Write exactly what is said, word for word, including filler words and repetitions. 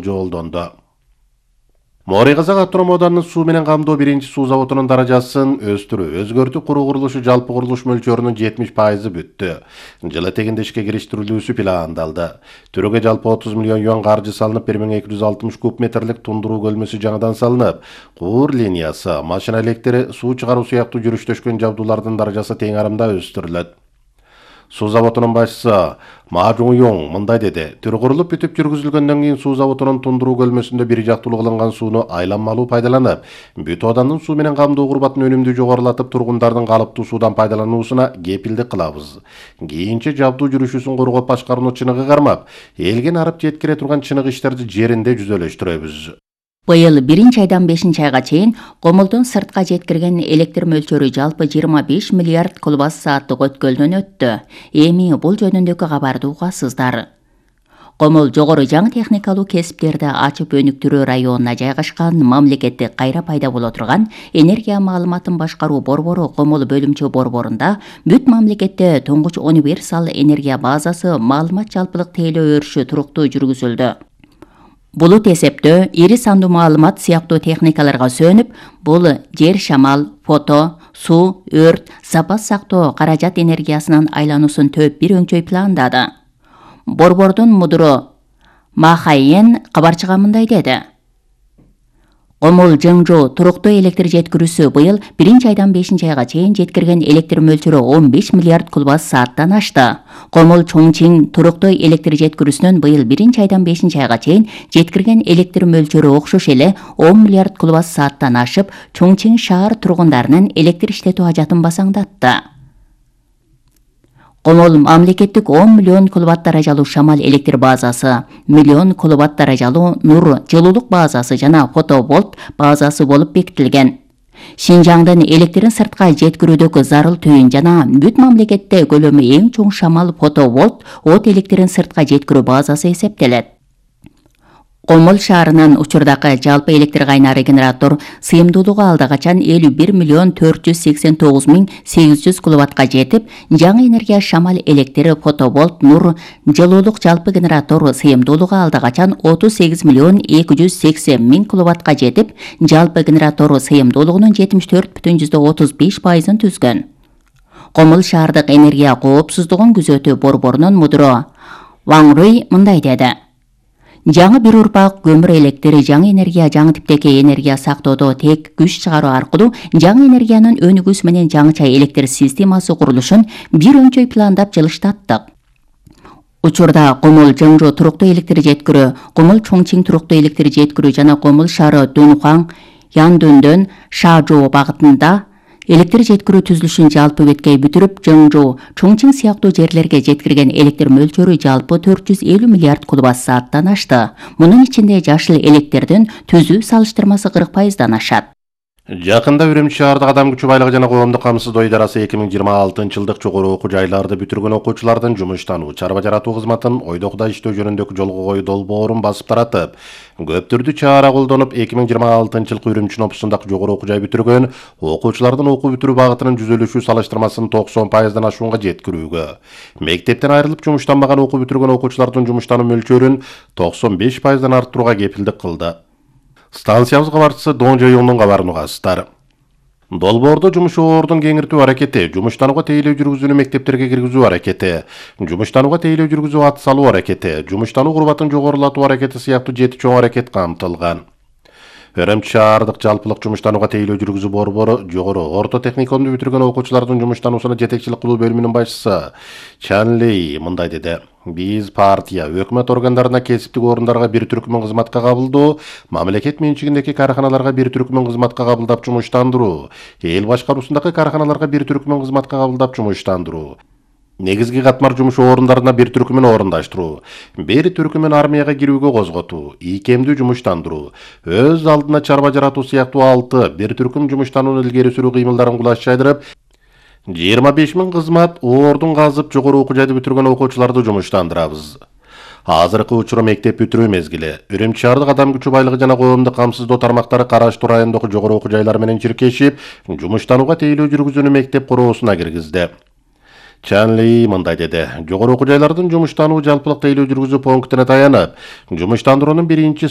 жолдонду. Моорий Казак автоном ауданынын суу менен камдоо биринчи суу заводунун даражасын өстүрүү, өзгөртүү куруу курулушу жалпы курулуш мөлчөрүнүн жетимиш пайызы бүттү. Жылы тегинде ишке кириштирилүүсү пландалды. Түрөгө жалпы отуз миллион юан каржы салынып, бир миң эки жүз алтымыш куб метрлик тундуруу көлмөсү жаңадан салынып, куур линиясы, машина электри, суу чыгаруу сыяктуу жүрүштөшкөн жабдуулардын даражасы тең арымда өстүрүлөт. Суу заводунун башчысы Ма Жуң мындай деди: Түрү курулуп бүтүп жүргүзүлгөндөн кийин суу заводунун тундуруу көлмөсүндө бир жактуулуу кылынган сууну айланмалуу пайдаланып, бүт оодандын суу менен камдоо курбатын өнүмдүү жогорулатып, тургундардын калыптуу суудан пайдалануусуна кепилдик кылабыз. Кийинче жабдуу жүрүшүсүн коргоп башкарууну чыныгы кармап, элге нарып жеткире турган чыныгы иштерди жеринде жүзөлөштүрөбүз. Быйыл биринчи айдан бешинчи айга чейин Комулдун сыртка жеткирген электр мөлчөрү жалпы жыйырма беш миллиард куб сааттык өткөлдөн өттү. Эми бул жөнүндөгү кабарды угасыздар. Комул жогору жаңы техникалуу кесиптерди ачып өнүктүрүү районуна жайгашкан мамлекеттик кайра пайда боло турган энергия маалыматын башкаруу борбору Комул бөлүмчө борборунда бүт мамлекетте туңгуч универсал энергия базасы маалымат жалпылык тейлөө өрүшү туруктуу жүргүзүлдү. Булут эсептөө, ири сандуу маалымат сыяктуу техникаларга сөнүп, бул жер шамал, фото, суу, өрт, запас сактоо каражат энергиясынын айлануусун төп бир өңчөй пландады. Борбордун мудуру Ма Хайен кабарчыга мындай деди: Комул Жыңжу туруктуу электр жеткирүүсү быйыл биринчи айдан бешинчи айга чейин жеткирген электр мөлчөрү он беш миллиард куб сааттан ашты. Комул Чоңчиң туруктуу электр жеткирүүсүнүн быйыл биринчи айдан бешинчи айга чейин жеткирген электр мөлчөрү окшош эле он миллиард куб сааттан ашып, Чоңчиң шаар тургундарынын электр иштетүү ажатын басаңдатты. Комул мамлекеттик он миллион киловатт даражалуу шамал электр базасы, миллион киловатт даражалуу нур жылуулук базасы жана фотовольт базасы болуп бекитилген. Шинжаңдын электрин сыртка жеткирүүдөгү зарыл түйүн жана бүт мамлекетте көлөмү эң чоң шамал фотовольт от электрин сыртка жеткирүү базасы эсептелет. Комул шаарынын учурдагы жалпы электр кайнары генератор сыйымдуулугу алда качан элүү бир миллион төрт жүз сексен тогуз миң сегиз жүз киловаттка жетип, жаңы энергия шамал электри, фотовольт, нур жылуулук жалпы генератор сыйымдуулугу алда качан отуз сегиз миллион эки жүз сексен миң киловаттка жетип, жалпы генератор сыйымдуулугунун жетимиш төрт бүтүн жүздөн отуз беш пайызын түзгөн. Комул шаардык энергия коопсуздугун күзөтүү борборунун мудуру Ваң Руй мындай деди: Жаңы бир урпак көмүр электри, жаңы энергия, жаңы типтеги энергия сактоодо тек күч чыгаруу аркылуу жаңы энергиянын өнүгүүсү менен жаңыча электр системасы курулушун бир өңчөй пландап жылыштаттык. Учурда Комул Жыңжу туруктуу электр жеткирүү, Комул Чоңчиң туруктуу электр жеткирүү жана Комул шаары Дунхуан, Яндүндөн Шажоо багытында электр жеткирүү түзүлүшүн жалпы беткей бүтүрүп, Жыңжу, Чоңчиң сыяктуу жерлерге жеткирген электр мөлчөрү жалпы төрт жүз элүү миллиард куб сааттан ашты. Мунун ичинде жашыл электрдин түзүү салыштырмасы кырк пайыздан ашат. Жакында Үрүмчү шаардык адам күчү байлыгы жана коомдук камсыздоо идарасы эки миң жыйырма алтынчы жылдык жогору окуу жайларды бүтүргөн окуучулардын жумуштануу, чарба жаратуу кызматын ойдокуда иштөө жөнүндөгү жолго коюу долбоорун басып таратып, көптүрдү чара колдонуп, эки миң жыйырма алтынчы жылкы Үрүмчү опусундагы жогору окуу жай бүтүргөн окуучулардын окуу бүтүрүү багытынын жүзөлүшүү салыштырмасын токсон пайыздан ашуунга жеткирүүгө, мектептен айрылып жумуштанбаган окуу бүтүргөн окуучулардын жумуштануу мөлчөрүн токсон беш пайыздан арттырууга кепилдик кылды. Станциябыз кабарчысы Дон Жоюңдун кабарын угасыздар. Долбоордо жумушчулардын кеңиртүү аракети, жумуштанууга тейлөө жүргүзүүнү мектептерге киргизүү аракети, жумуштанууга тейлөө жүргүзүү ат салуу аракети, жумуштануу курбатын жогорулатуу аракети сыяктуу жети чоң аракет камтылган. Үрүмчү шаардык жалпылык жумуштанууга тейлөө жүргүзүү борбору жогору орто техникумду бүтүргөн окуучулардын жумуштануусуна жетекчилик кылуу бөлүмүнүн башчысы Чан Лей мындай деди: Биз партия, өкмөт органдарына, кесиптик орундарга бир түркүмүн кызматка кабылдоо, мамлекет менчигиндеги карханаларга бир түркүмүн кызматка кабылдап жумуштандыруу, эл башкаруусундагы карханаларга бир түркүмүн кызматка кабылдап жумуштандыруу, негизги катмар жумуш орундарына бир түркүмүн орундаштыруу, бир түркүмүн армияга кирүүгө козготуу, ийкемдүү жумуштандыруу, өз алдына чарба жаратуу сыяктуу алты бир түркүм жумуштанууну илгери сүрүү кыймылдарын кулаш жайдырып, жыйырма беш миң кызмат ордун казып жогору окуу жайды бүтүргөн окуучуларды жумуштандырабыз. Азыркы учуру мектеп бүтүрүү мезгили. Үрүмчү шаардык адам күчү байлыгы жана коомдук камсыздоо тармактары караштуу райондогу жогору окуу жайлар менен чиркешип, жумуштанууга тейлөө жүргүзүүнү мектеп короосуна киргизди. Чан Ли мындай деди. Жогору окуу жайлардын жумуштануу жалпылык тейлөө жүргүзүү пунктуна таянып, жумуштандыруунун биринчи